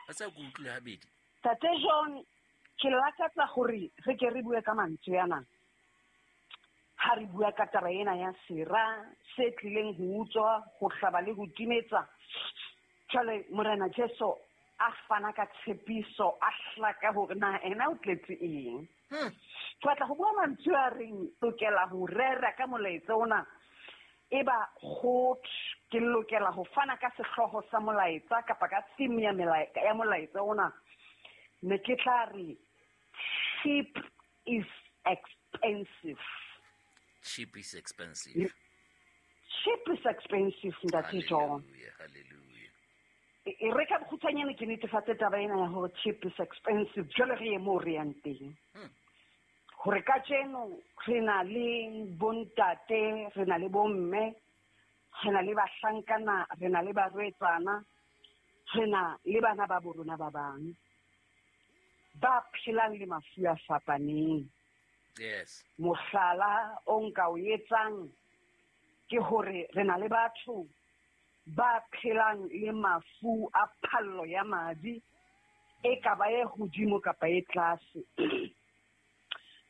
A sa ke utlwile habedi. Tate John, ke lakatsa gore re ke re bue ka mantswe ana. Ha re bua ka taba ena ya sera se tlileng ho utswa, ho hlaba le ho timetsa. Jwale Morena Jesu a fana ka tshepiso, a hlaka hore na ena o tletse eng. Ke batla ho bua mantswe a reng lokela ho rera ka molaetsa ona. Eba go ke lokela ho fana ka sehlooho sa molaetsa kapa ka theme ya ya molaetsa ona. Ne ke tla re cheap is expensive. Cheap is expensive. Cheap is expensive, Ntate John. Hallelujah, hallelujah. E re ka bokgutshwanyane ke netefatse taba ena ya hore cheap is expensive. Jwale re ye moo re yang teng. Hore kajeno re na le bontate, re na le bomme, re na le bahlankana, re na le barwetsana, re na le bana ba borona ba bang ba phelang le mafu a fapaneng. Yes. Mohlala o nka o etsang ke hore re na le batho ba phelang le mafu a phallo ya madi, e ka ba e hodimo kapa e tlase.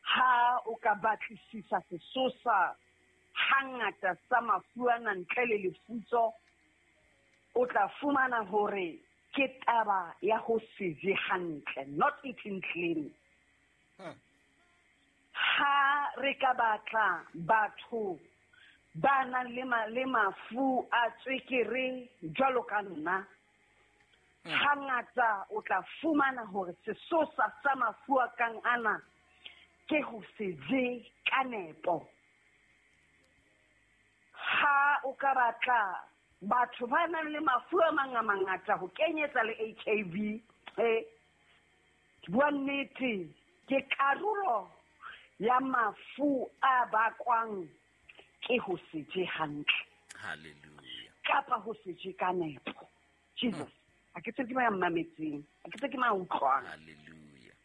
Ha o ka batlisisa sesosa hangata sa mafu ana ntle le lefutso, o tla fumana hore ke taba ya ho se je hantle, not eating clean. Ha re ka batla batho ba nang le mafu a tswekere jwalo ka nna, hangata o tla fumana hore sesosa sa mafu a kang ana ke ho se je ka nepo. Ha o ka batla batho ba nang le mafu a mang a mangata ho kenyetsa le HIV, ke bua nnete, ke karolo ya mafu a bakwang ke ho se je hantle. Hallelujah. Kapa ho se je ka nepo. Jesus, a ke tsebe ke mang ya mmametseng, a ke tsebe ke mang ya utlwang. Hallelujah.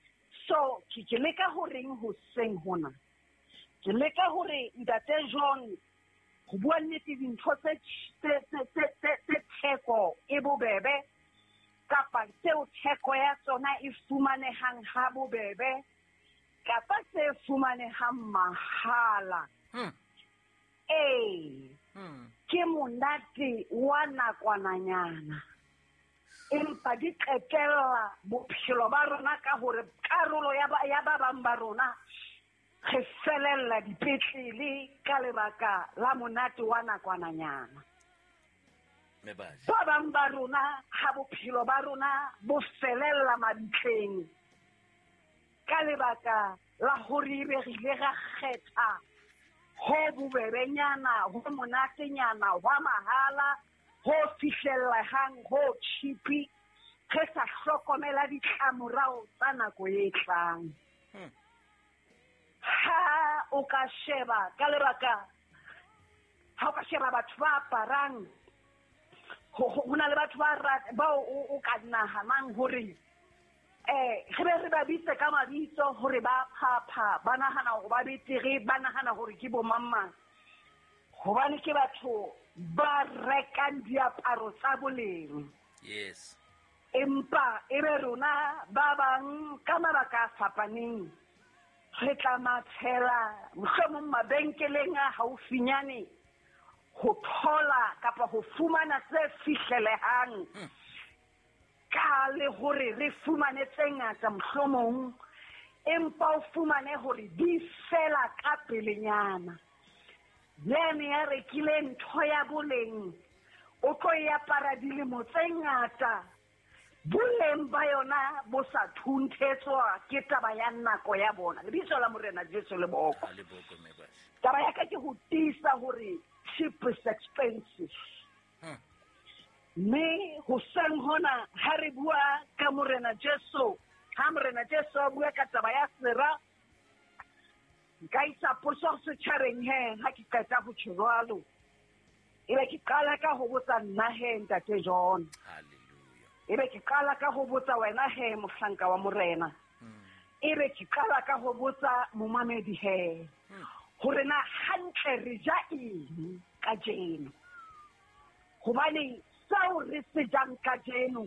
So, ke leka ho reng hoseng hona? Ke leka hore Ntate John, ho bua nnete, dintho tse theko e bobebe, kapa tseo theko ya tsona e fumanehang ha bobebe, kapa tse fumanehang mahala. Ee, ke monate wa nakwananyana, empa di qetella bophelo ba rona ka hore karolo ya ba bang ba rona re felella dipetlele ka lebaka la monate wa nakwananyana. Ba bang ba rona ha bophelo ba rona bo felella mabitleng ka lebaka la hore ebe re ile ra kgetha ho bobebenyana, ho monatenyana, hwa mahala, ho fihlellehang, ho cheap, re sa hlokomela ditlamorao tsa nako e tlang. Ha o ka sheba ka lebaka, ha o ka sheba batho ba aparang, ho na le batho ba bao o ka nahanang hore re be re ba bitse ka mabitso hore ba phapha, ba nahana hore ba betere, ba nahana hore ke bo mang mang. Hobane ke batho ba rekang diaparo tsa boleng. Yes. Empa e be rona ba bang ka mabaka a fapaneng re tla mathela mohlomong mabenkeleng a haufinyane ho thola kapa ho fumana tse fihlelehang. Ka le hore re fumane tse ngata mohlomong, empa o fumane hore di fela ka pelenyana. Yane ya rekile ntho ya boleng, o tlo e apara dilemo tse ngata, boleng ba yona bo sa thunthetswa ke taba ya nako ya bona. Lebitso la Morena Jesu le boko. Ha le boko, mme Bashe. Taba ya ka ke ho tiisa hore cheap is expensive. Mme hoseng hona ha re bua ka Morena Jesu, ha Morena Jesu a bua ka taba ya sera, nka isa potso setjhabeng he, ha ke qeta ho tjho jwalo. Ebe ke qala ka ho botsa nna he, Ntate John. Hallelujah. Ebe ke qala ka ho botsa wena he, mohlanka wa Morena. Ebe ke qala ka ho botsa momamedi he, hore na hantle re ja eng kajeno. Hobane seo re se jang kajeno